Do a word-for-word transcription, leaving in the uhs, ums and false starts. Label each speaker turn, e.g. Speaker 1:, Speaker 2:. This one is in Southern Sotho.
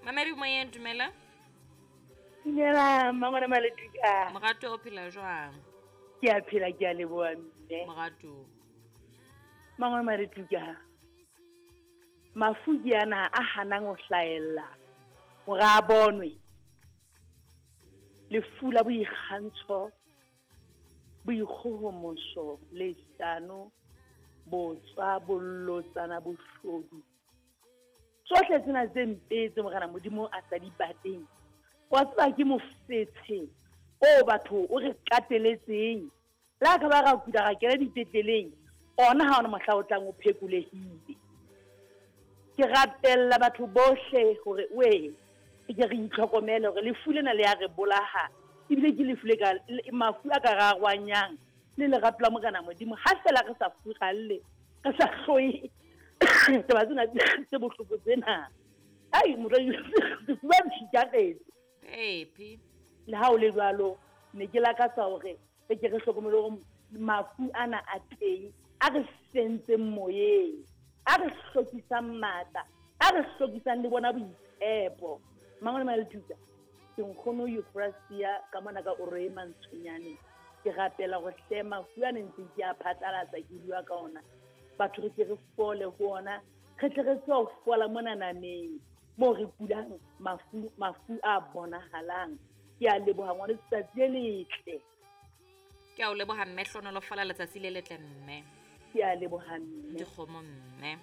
Speaker 1: Mamedi moyeng, dumela.
Speaker 2: Dumela mmangwana Maletuka.
Speaker 1: Morato, o phela jwang?
Speaker 2: Ke a phela, ke a leboha mme.
Speaker 1: Morato.
Speaker 2: Mmangwana Maletuka. Mafu ke ana a hanang ho hlahella hore a bonwe. Lefu la boikgantsho, boikgohomoso, leshano, botswa, bolotsana, boshodu. Tsohle tsena tse mpe tse Morena Modimo a sa di batleng. Wa tseba ke mofetshe o batho o re kateletseng. Le ha ka ba ra kula ra kena dipetleleng, ona ha ona mohla o tlang o phekolehile. Ke rapella batho bohle hore we ke re itlhokomele hore lefu lena le ya re bolaha. Ebile ke lefu le ka mafu a ka rarwanyang le lerato la Morena Modimo. Ha fela re sa furalle, re sa hloye taba tsena tse bohloko tsena. Ai motho sefuba se
Speaker 1: Epi.
Speaker 2: Le ha o le jwalo, ne ke lakatsa hore re ke re hlokomele hore mafu ana a teng, a re sentseng moyeng, a re hlokisang matla, a re hlokisang le bona boitshepo. Mangwana Maletuka, ke nkgono Euphrasia ka mona ka Oroe Mantshonyane. Ke rapela hore hle mafu ana ntse ke a phatlalatsa ke bua ka ona. Batho re ke re fole ho ona, re tle re tswe ho fola mona nameng moo re kulang mafu, mafu a bonahalang. Ke a leboha ngwana, letsatsi le letle.
Speaker 1: Ke a o leboha mme, hlohonolofala letsatsi le letle mme.
Speaker 2: Ke a leboha mme.
Speaker 1: Dikgomo mme.